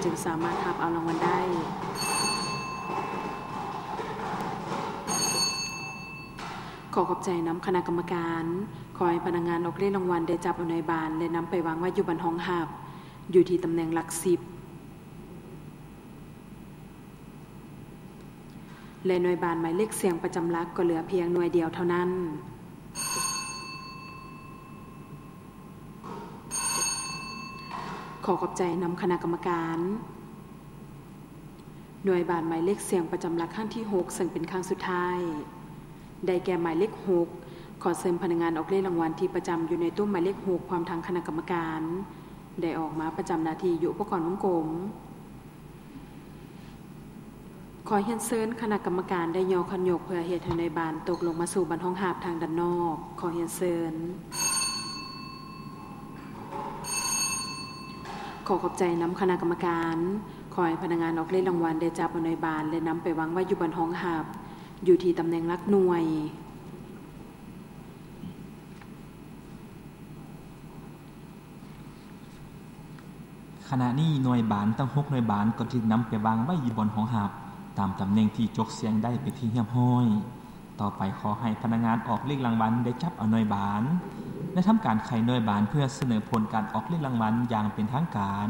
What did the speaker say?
ຈຶ່ງສາມາດຮັບເອົາລາງວັນໄດ້. ຂໍຂອບໃຈນຳຄະນະກຳມະການ. ຂໍໃຫ້ພະນັກງານອອກເລກລາງວັນໄດ້ຈັບເອົາໜ່ວຍບານ ແລະ ນຳໄປວາງໄວ້ຢູ່ບ່ອນຮອງຮັບ ຢູ່ທີ່ຕຳແໜ່ງຫຼັກສິບ ແລະ ໜ່ວຍບານໝາຍເລກສ່ຽງປະຈຳຫຼັກກໍເຫຼືອພຽງໜ່ວຍດຽວເທົ່ານັ້ນ. ຂໍຂອບໃຈນຳຄະນະກຳມະການ. ໜ່ວຍບານໝາຍເລກສ່ຽງປະຈຳຫຼັກຄັ້ງທີຫົກ ເຊິ່ງເປັນຄັ້ງສຸດທ້າຍ ໄດ້ແກ່ໝາຍເລກຫົກ. ຂໍເຊີນພະນັກງານອອກເລກລາງວັນທີ່ປະຈຳຢູ່ໃນໂຕະໝາຍເລກຫົກ ພ້ອມທັງຄະນະກຳມະການ ໄດ້ອອກມາປະຈຳໜ້າທີ່ຢູ່ອຸປະກອນວົງກົມ. ຂໍຮຽນເຊີນຄະນະກຳມະການໄດ້ຍໍຄັນຍົກເພື່ອເຮັດໃຫ້ໜ່ວຍບານຕົກລົງມາສູ່ບ່ອນຮອງຮັບທາງດ້ານນອກ. ຂໍຮຽນເຊີນ. ຂໍຂອບໃຈນຳຄະນະກຳມະການ. ຂໍໃຫ້ພະນັກງານອອກເລກລາງວັນໄດ້ຈັບເອົາໜ່ວຍບານ ແລະ ນຳໄປວາງໄວ້ຢູ່ບ່ອນຮອງຮັບ ຢູ່ທີ່ຕຳແໜ່ງຫຼັກໜ່ວຍ. ຂະນະນີ້ໜ່ວຍບານທັງຫົກໜ່ວຍບານກໍຖືກນຳໄປວາງໄວ້ຢູ່ບ່ອນຮອງຮັບ ຕາມຕຳແໜ່ງທີ່ຈົກສ່ຽງໄດ້ເປັນທີ່ຮຽບຮ້ອຍ. ຕໍ່ໄປຂໍໃຫ້ພະນັກງານອອກເລກລາງວັນໄດ້ຈັບເອົາໜ່ວຍບານ ແລະ ທຳການໄຂໜ່ວຍບານເພື່ອສະເໜີຜົນການອອກເລກລາງວັນຢ່າງເປັນທາງການ.